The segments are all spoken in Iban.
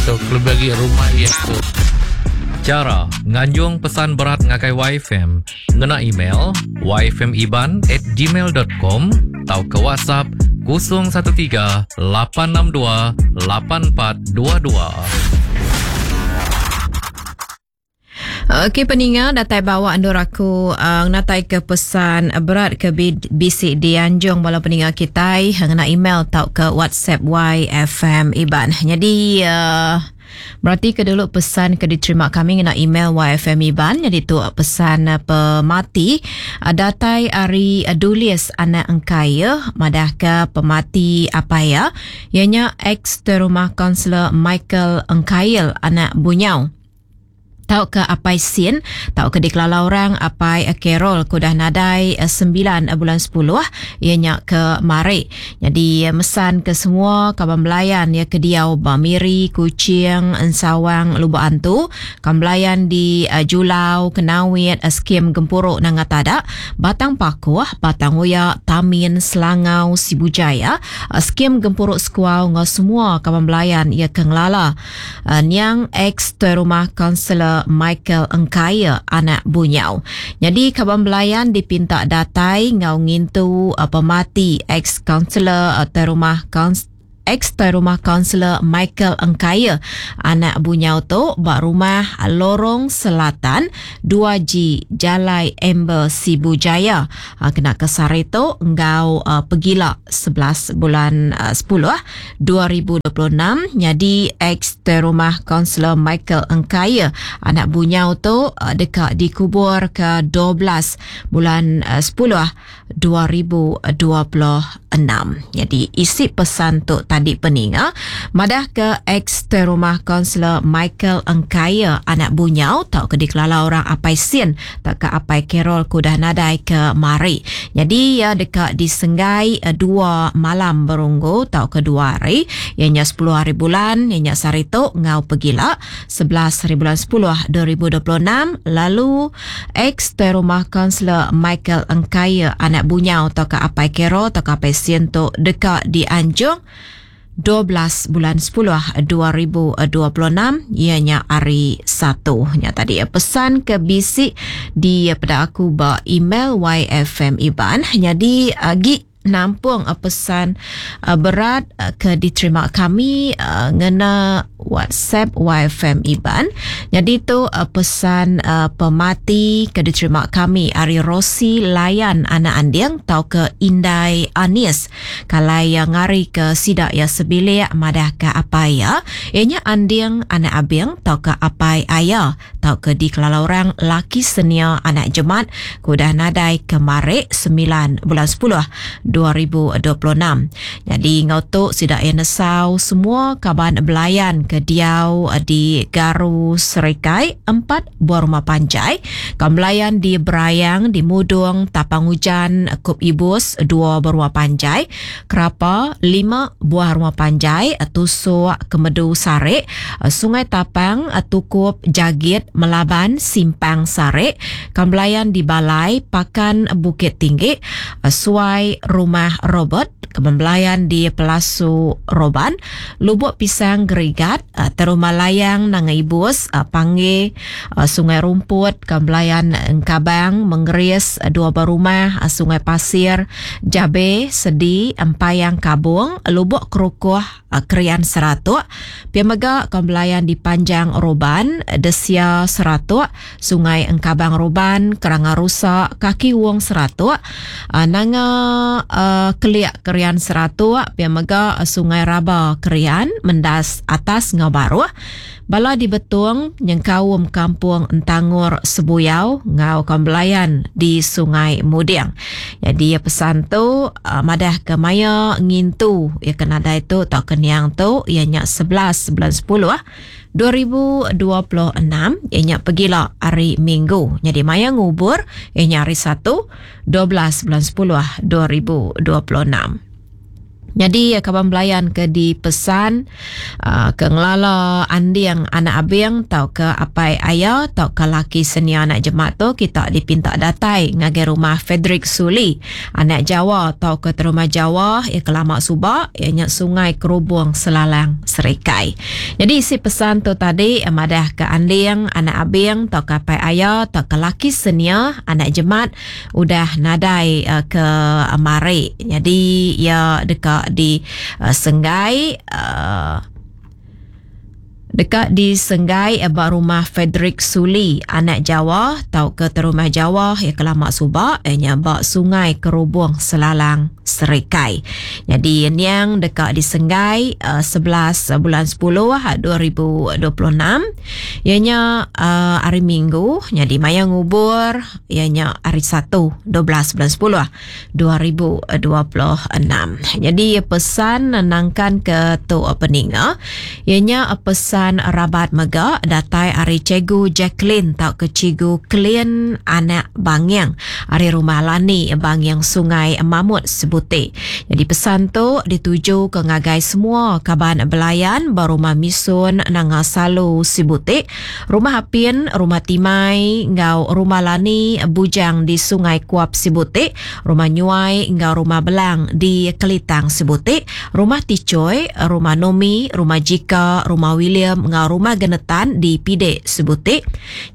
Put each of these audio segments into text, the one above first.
tu kelebih agi rumah iya tu. Chara nganjung pesan berat ngagai YFM ngena email yfmiban at gmail dot com tauka WhatsApp 013 862 8422. Okey peninga datai bawa endur aku uh, ngenatai ke pesan berat ke bisi dianjung bala peninga kitai ngena email tauka WhatsApp YFM Iban. Jadi uh, berarti ke dulu pesan ke diterima kami ngena email YFM Iban. Jadi tu pesan pemati uh, datai ari Dulis anak engkai ya madah ke pemati apai ya ianya ex terumah kaunselor Michael Engkail anak Bunyau. Tauka Apai Sin, tauka dikelala orang Apai Carol ke udah nadai sembilan bulan sepuluh iya nya ke mari. Nyadi mesan ke semua kaban belayan iya ke diau ba Miri, Kuching, Ensawang, Lubok Antu, kaban belayan di Julau, Kenawit, Skim Gempuru Nanga Tada, Batang Pakoh, Batang Oya, Tamin, Selangau, Sibu Jaya, Skim Gempuru Sekuau enggau semua kaban belayan iya ke ngelala Niang ex Tuai Rumah Kaunsilor Michael Engkaie anak Bunyau. Nyadi kaban belayan dipinta datai enggau ngintu pemati ex Kaunsilor Tuai Rumah ex Tuai Rumah Kaunsilor Michael Engkaie anak Bunyau tu ba Rumah Lorong Selatan 2G Jalai Amber Sibu Jaya kena ke sehari tu enggau pegila 11 bulan 10 2026 nyadi ex-Tuai Rumah Kaunsilor Michael Engkaie anak Bunyau tu deka dikubur ke 12 bulan 10 2026. Nyadi isi pesan tu tadi peninga madah ke ex-Tuai Rumah Kaunsilor Michael Engkaie anak Bunyau tauka dikelala orang Apai Sin tauka Apai Carol ke udah nadai ke mari. Nyadi iya deka disenggai dua malam berunggu tauka dua hari, iya nya sepuluh hari bulan, iya nya sehari tu enggau pegila, 11 hari bulan sepuluh 2026, lalu ex Tuai Rumah Kaunsilor Michael Engkaie anak Bunyau tauka Apai Carol tauka Apai Sin tu deka dianjung 12 bulan 10 2026 iya nya hari Satu. Nya tadi pesan ke bisi di peda aku ba email YFM Iban. Nyadi agi nampung pesan berat ke diterima kami ngena WhatsApp YFM Iban. Nyadi tu pesan pemati ke diterima kami ari Rosi Layan anak Anding tauka Indai Anis. Kalai iya ngarika sida iya sebilik madahka apai iya, iya nya Anding anak Abing tauka apai Aya tauka dikelala orang laki senia anak Jemat ke udah nadai kemari semilan bulan sepuluh 2026. Nyadi enggau tu sida iya nesau semua kaban belayan ke diau di Garu Serikai empat buah rumah panjai, kaban belayan di Berayang di Mudong, Tapang Ujan, Kup Ibus dua buah rumah panjai, Kerapa lima buah rumah panjai, Tusuk, Kemedu Sarik, Sungai Tapang, Tukup, Jagit, Melaban, Simpang Sarik, kaban belayan di Balai, Pakan Bukit Tinggi, Suai Rumah Robert, kaban belayan di Pelasu Roban, Lubok Pisang Gerigat, Teruma Layang Nanga Ibus, Panggi, Sungai Rumput, kaban belayan Engkabang, Mengeris, Dua Buah Rumah, Sungai Pasir, Jabe, Sedi, Empayang Kabong, Lubok Kerukoh, Krian Seratok, pia mega kaban belayan di Panjang Roban, Desia Seratok, Sungai Engkabang Roban, Keranga Rusa, Kaki Wong Seratok, Nanga Kelik Kerian Seratok, pia mega Sungai Raba Kerian, Mendas Atas enggau Baruh. Bala di Betong nyengkaum Kampung Entangor Sebuyau enggau Kaum Belayan di Sungai Muding. Nyadi pesan tu madah ke maya ngintu iya ke nadai tu tauka niang tu iya nya 11 bulan 10 2026 iya nya pegila hari Minggu. Nyadi maya ngubur iya nya hari Satu 12 bulan 10 2026. Nyadi kaban belayan ke dipesan ke ngelala Anding anak Abing tauka apai aya tauka laki senia anak jemat tu kita dipinta datai ngagai rumah Frederick Suli anak Jawa tauka Terumah Jawa iya ke lama suba iya nya Sungai Kerubong Selalang Serikai. Nyadi isi pesan tu tadi madah ke Anding anak Abing tauka apai aya tauka laki senia anak jemat udah nadai ke mari nyadi iya deka di senggai deka disenggai ba rumah Frederick Suli anak Jawa tauka Terumah Jawa iya ke lama suba iya nya ba Sungai Kerubong Selalang Serikai. Nyadi niang deka disenggai 11 bulan 10 2026 iya nya hari Minggu nyadi maya ngubur iya nya hari Satu 12 bulan 10 2026. Nyadi pesan nangkan ke tu peninga iya nya pesan rabat mega datai ari Cikgu Jacqueline tauka Cikgu Klin anak Banging ari Rumah Lani Banging Sungai Mamut Sebuti. Nyadi pesan tu dituju ke ngagai semua kaban belayan ba Rumah Misun Nanga Salu Sibuti Rumah Apin, Rumah Timai enggau Rumah Lani Bujang di Sungai Kuap Sibuti, Rumah Nyuai enggau Rumah Belang di Kelitang Sibuti, Rumah Tichoi, Rumah Nomi, Rumah Jika, Rumah William enggau Rumah Genetan di Pidek Sibuti,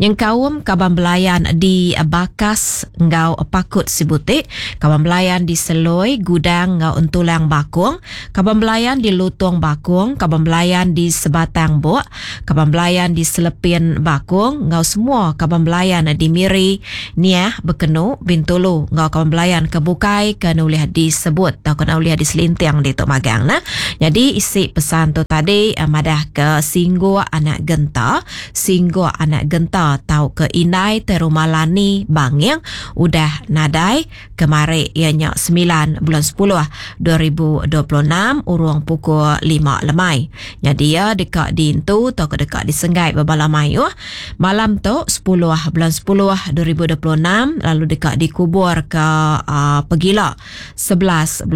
nyengkaum kaban belayan di Bakas enggau Pakut Sibuti, kaban belayan di Seloi, Gudang enggau Entulang Bakong, kaban belayan di Lutong Bakong, kaban belayan di Sebatang Bok, kaban belayan di Selepin Bakong enggau semua kaban belayan di Miri, Niah, Bekenu, Bintulu enggau kaban belayan ke bukai ke nulih disebut tauka nulih diselinting ditu magang nah. Nyadi isi pesan tu tadi madah ke Singguk anak Genta, Singguk anak Genta tauka indai te Rumah Lani Banging udah nadai Kemari iya nya semilan bulan sepuluh 2026 urung pukul lima lemai. Nyadi iya deka diintu tauka deka disenggai bebala mayuh malam tu sepuluh bulan sepuluh 2026 lalu deka dikubur ke uh, pegila 11 bulan.